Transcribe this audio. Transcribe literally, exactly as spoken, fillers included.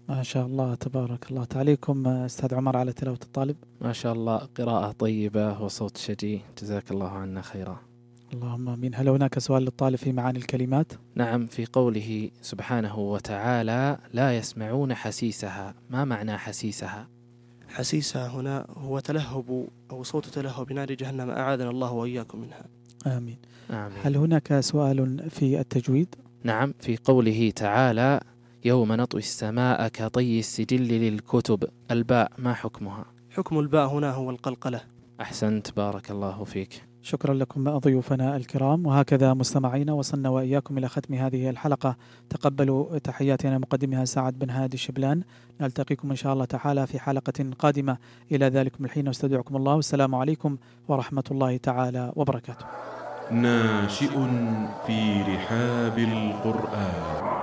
ما شاء الله تبارك الله. تعليقكم أستاذ عمر على تلاوة الطالب؟ ما شاء الله، قراءة طيبة وصوت شجي، جزاك الله عنا خيرا. اللهم آمين. هل هناك سؤال للطالب في معاني الكلمات؟ نعم، في قوله سبحانه وتعالى لا يسمعون حسيسها، ما معنى حسيسها؟ حسيسها هنا هو تلهب أو صوت تلهب نار جهنم، أعاذنا الله وإياكم منها. آمين. آمين. هل هناك سؤال في التجويد؟ نعم، في قوله تعالى يوم نطوي السماء كطي السجل للكتب، الباء ما حكمها؟ حكم الباء هنا هو القلقلة. أحسنت، بارك الله فيك. شكرا لكم ضيوفنا الكرام. وهكذا مستمعينا وصلنا وإياكم إلى ختم هذه الحلقة. تقبلوا تحياتنا مقدمها سعد بن هادي الشبلان. نلتقيكم إن شاء الله تعالى في حلقة قادمة. إلى ذلكم الحين استودعكم الله، والسلام عليكم ورحمة الله تعالى وبركاته. ناشئ في رحاب القرآن.